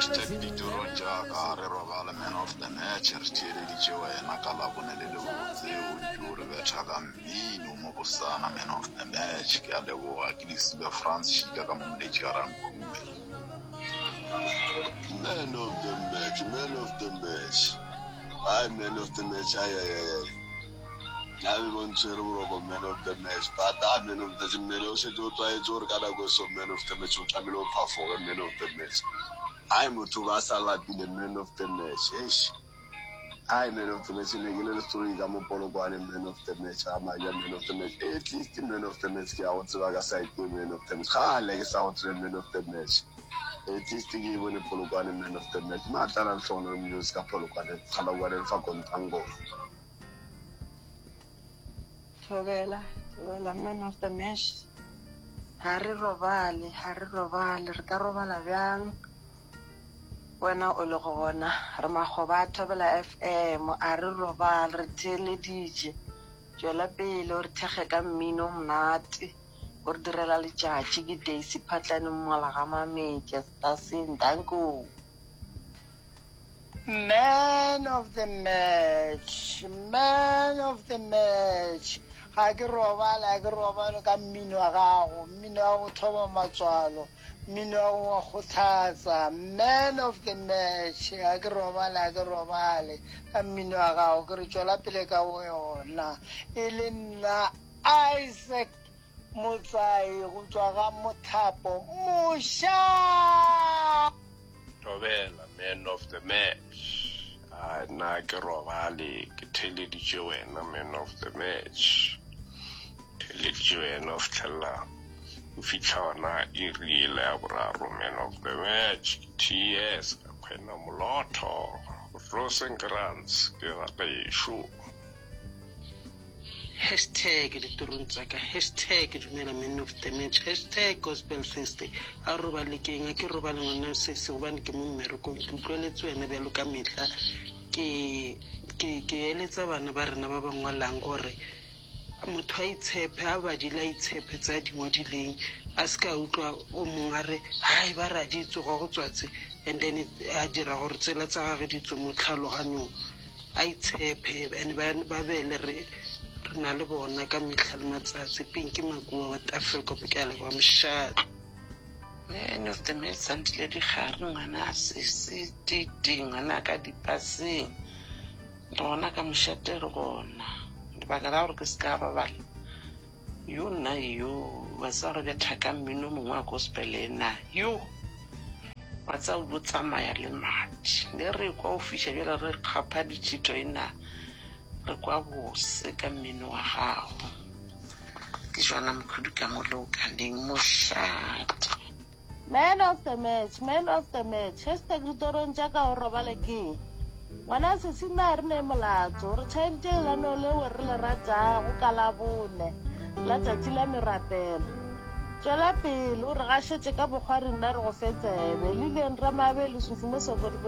Hashtag ditorong tša ka re robale man of the match re theeleditše wena ka labone le lebotse o ntše o re betha ka mmino mo bosana man of the match ke a leboga ke Lesiba Frans Šika ka mo Moletši ga Rankhume. Man of the match, man of the match. Ai man of the match, ai ai ai ai. Nna be bo ntshwere boroko man of the match but ah man of the mmele o šetše o tlwaetše gore ka nako e so man of the match o tlamehile o phafoge man of the match. Ai motho o ba sa lapile man of the match eish. Ai man of the match ne ke le lestory ka mo Polokwane man of the match ga maja man of the match at least man of the match ke ya go tseba ka side man of the match gale ke sa go tsebe man of the match. At least ke e bone Polokwane man of the match. Matlala Lehlogonolo Mjozi ka Polokwane Kgalagwane fa Kontangoma. Thobela, thobela man of the match. Ga re robale, ga re robale, re ka robala bjang? Wena o le go bona, re makgoba a Thobela FM, a re robale, re theeleditše. Tšwela pele o re thekge ka mmino o monate, o re direla letšatši. Ke Daisy Phatlane Mmola ga Mametša, Staseng, danko. Man of the match, man of the match. Ga ke robale, ga ke robale ka mmino wa gago, mmino wa go thoba matswalo, mmino wa go kgothatsa. Man of the match, ga ke robale, ga ke robale ka mmino wa gago. Ke re tšwela pele ka yona. E le nna Isaac Motsai go tšwa ga Mothapo, Moša! Thobela, man of the match. A nna ke robale ke theeleditše wena man of the match. Theeleditše wena o fitlhelela o fitlha ona iri ele ya boraro man of the match. Ke TS ka kgwena molotho Rosenkrantz ke ga gešo. Hashtag ditorong tša ka, hashtag dumela man of the match, hashtag gospel Thursday. A robale ke eng? A ke robale ngwana sesi gobane ke mo mmerekong. Ke utlweletse wena bjalo ka mehla. Ke, ke, ke eletsa bana ba rena ba ba ngwalang gore motho a itshepe, a badile a itshepe tse a di ngwadileng. A se ka utlwa o mongwe a re, hai ba re a di tswe gwa go tswa tse, and then a dira gore tsela tsa gage di tswe mo tlhaloganyong. A itshepe and ba ba be le re re na le bona ka mehla le matsatsi. Pinky Makua wa Tafelkop ke a leboga mošate. Man of the match Sandile Dikgare ngwana sesi Titi ngwana ka dipaseng re gona ka mošate re gona lebaka la gore ke se ka robala yo nna yo wa tseba re betha ka mmino mongwe wa gospel ena yo wa tseba o tsamaya le madi le re kwa o fiša bjale re kgapha ditšhito ena re kwa bose ka mmino wa gago ke jona mokhudu ka mo leokaneng mošate. Man of the match, man of the match, hashtag ditorong tša ka o robale ke ngwana sesi nna re ne molato re tšhaeditše lenaneo leo re le ratago ka labone la tšatši la merapelo tšwela pele o re gašetše ka bokgwari nna re go fe tsebe lileng ramabe lesufi mo sokodiko.